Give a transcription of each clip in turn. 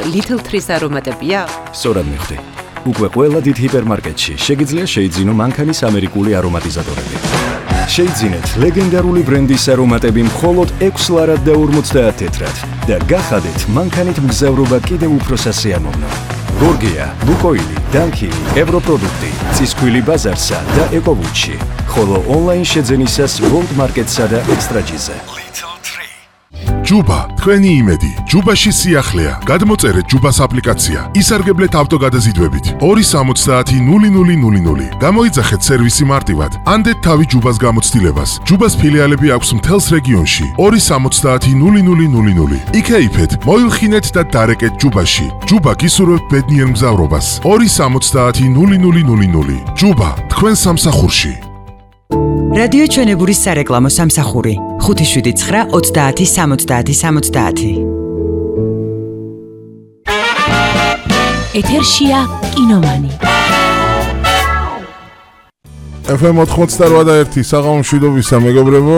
Little Trees არომატებია? სწორად მიხვდი. უკვე ყველა დიდ ჰიპერმარკეტში შეგიძლია შეიძინო მანქანის ამერიკული არომატიზატორები. შეიძინეთ ლეგენდარული ბრენდის არომატები მხოლოდ 6 ლარად და 50 თეთრად და გახადეთ მანქანით მგზავრობა კიდევ უფრო სასიამოვნო. გორგია, ლუკოილი, დანკილი, ევროპროდუქტი, ცისქვილი ბაზარსა და ეკოვუჩი. ხოლო ონლაინ შეძენისას ვოლტ მარკეტსა და ექსტრაჯიზე. ჯუბა, თქვენი იმედი. ჯუბაში სიახლეა. გადმოწერეთ ჯუბას აპლიკაცია. ისარგებლეთ ავტოგადაზიდვებით. 2700000. გამოიძახეთ სერვისი მარტივად. ანდეთ თავი ჯუბას გამოცდილებას. ჯუბას ფილიალები აქვს მთელს რეგიონში. 2700000. იქეიფეთ, მოილხინეთ და დარეკეთ ჯუბაში. ჯუბა გისურვებთ ბედნიერ მგზავრობას. 2700000. ჯუბა, თქვენ სამსახურში. რადიო ჩვენებურის სარეკლამო სამსახური 579-30-70-70. ეთერშია კინომანი. FM 88 საღამო მშვიდობისა მეგობრებო,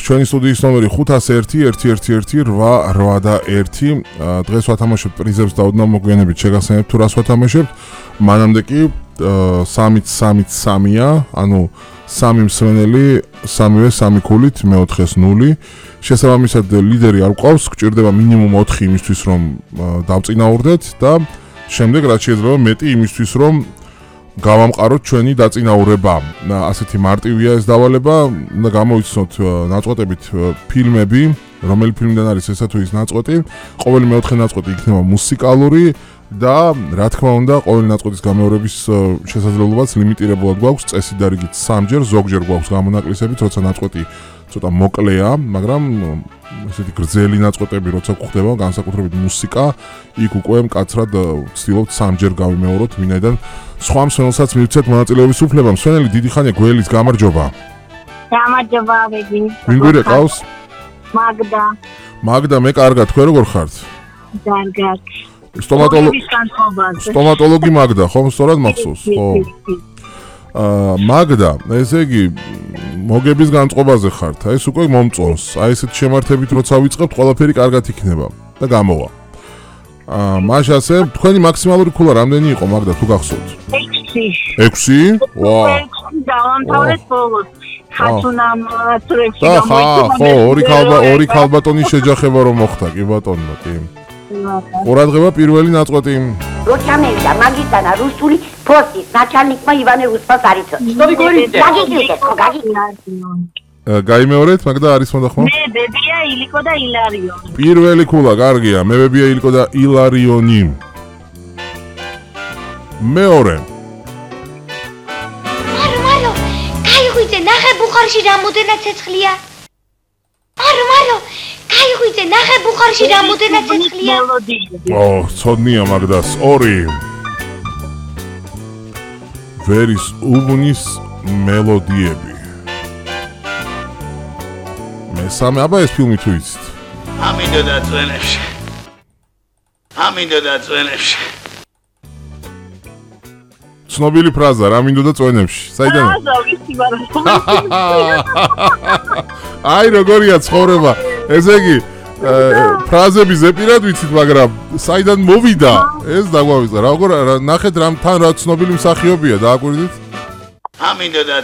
ჩვენი სტუდიის ნომერი 501-111-881. დღეს ვათამაშებთ პრიზებს და ოდნავ მოგვიანებით შეგახსენებთ თუ რას ვათამაშებთ. მანამდე კი 3-3-3-ია, ანუ 3 მსვენელი, 3-ვე 3 ქულით, მეოთხეს 0. შესაბამისად ლიდერი არ გვყავს, გჭირდება მინიმუმ 4 იმისთვის რომ დავწინაურდეთ და შემდეგ რაც შეიძლება მეტი იმისთვის რომ გავამყაროთ ჩვენი დაწინაურება. ასეთი მარტივია ეს დავალება და გამოიცნოთ ნაწყვეტებით ფილმები, რომელი ფილმიდან არის ესა თუ ის ნაწყვეტი. ყოველი მეოთხე ნაწყვეტი იქნება მუსიკალური და რა თქმა უნდა ყოველი ნაწყვეტის გამეორების შესაძლებლობაც ლიმიტირებულად გვაქვს წესით და რიგით 3-ჯერ, ზოგჯერ გვაქვს გამონაკლისებით, როცა ნაწყვეტი ცოტა მოკლეა, მაგრამ ესეთი გრძელი ნაწყვეტები როცა გვხდება, განსაკუთრებით მუსიკა, იქ უკვე მკაცრად ვცდილობთ 3-ჯერ გავიმეოროთ, ვინაიდან სხვა მსმენელსაც მივცეთ მონაწილეობის უფლება. მსმენელი დიდი ხანია გველის გამარჯობა. გამარჯობა, ბები. ვინ გვირეკავს? მაგდა. მაგდა, მე კარგად, თქვენ როგორ ხართ? კარგად. სტომატოლოგი მაგდა, ხომ სწორად მახსოვს? ხო. მაგდა, ესე იგი მოგების განწყობაზე ხართ. აი ეს უკვე მომწონს. აი ესეთ შემართებით როცა ვიწყებთ, ყველაფერი კარგად იქნება და გამოვა. მაშ ასე, თქვენი მაქსიმალური ქულა რამდენი იყო მაგდა თუ გახსოვთ? 6. ვაუ. დავამთავრეთ ბოლოს. ხათუნამ ტრექში ხო, ორი ქალბატონის შეჯახება რომ მოხდა, კი ბატონო, კი. ყურადღება პირველი ნაწყვეტი. როცა მევიდა მაგისტანა რუსული ფოსტის начальникმა ივანე უსპას არიცო. გაგიგიეთ, ხო გაგიგიეთ. გაიმეორეთ, მაგდა არის მონდა ხო? მე ბებია ილიკო და ილარიონი. პირველი ქულა, კარგია, მე ბებია ილიკო და ილარიონი. მეორე. მარო, გაიღვიძე, ნახე ბუხარში რამოდენად ცეცხლია. მარო, გაიღვიძე, ნახე ბუხარში რამოდენად ცეცხლია. ცოდნია მაგდას. 2. ვერის უბნის მელოდიები. მესამე, აბა ეს ფილმი თუ იცით? ამინდოდა წვენებში. ცნობილი ფრაზა, რა მინდოდა წვენებში. საიდან? აი როგორია ცხოვრება. ესე იგი ფრაზები ზეპირად ვიცით, მაგრამ საიდან მოვიდა? ეს დაგვავიწყდა. როგორ ნახეთ თან რა ცნობილი მსახიობია, დააკვირდით? ამინდოდა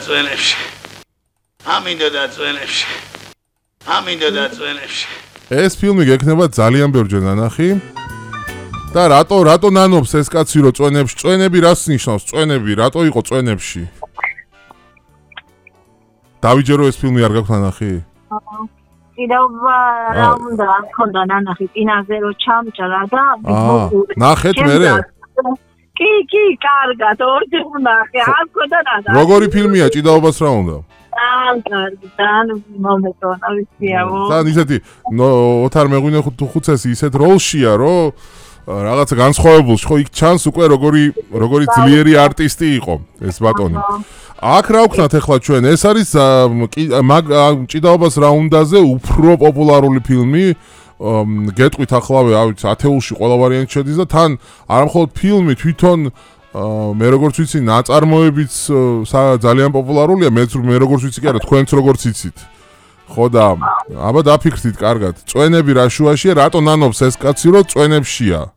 წვენებში. ეს ფილმი გექნება ძალიან ბევრჯერ ნანახი. და რატო ნანობს ეს კაცი რო წვენებში? წვენები რას ნიშნავს? წვენები რატო იყო წვენებში? დავიჯერო ეს ფილმი არ გაქვთ ნანახი? კიდევ რა უნდა გქონდა ნანახი წინაზე რო ჩამჭრა და ნახეთ მერე? კი, კარგად, ორჯერ ვნახე, არ გქონდა ნანახი. როგორი ფილმია, ჭიდაობას რა უნდა? კარგი, მომეწონა ვიციაო. და ისეთი ოთარ მეღვინე ხუცესი ისეთ როლშია, რომ რაღაცა განსხვავებულში, ხო იქ ჩანს უკვე როგორი ძლიერი არტისტი იყო ეს ბატონი. აქ რა ვქნათ ახლა ჩვენ? ეს არის ჭიდაობას რა უნდაზე უფრო პოპულარული ფილმი. გეტყვით ახლავე, ათეულში ყველა ვარიანტი შედის და თან არამხოლოდ ფილმი თვითონ მე როგორც ვიცი, ნაწარმოებიც ძალიან პოპულარულია, მე როგორც ვიცი კი არა, თქვენც როგორც იცით. ხო და აბა დაფიქრდით კარგად. წვენები რა შუაშია, რატო ნანობს ეს კაცი, რომ წვენებშია?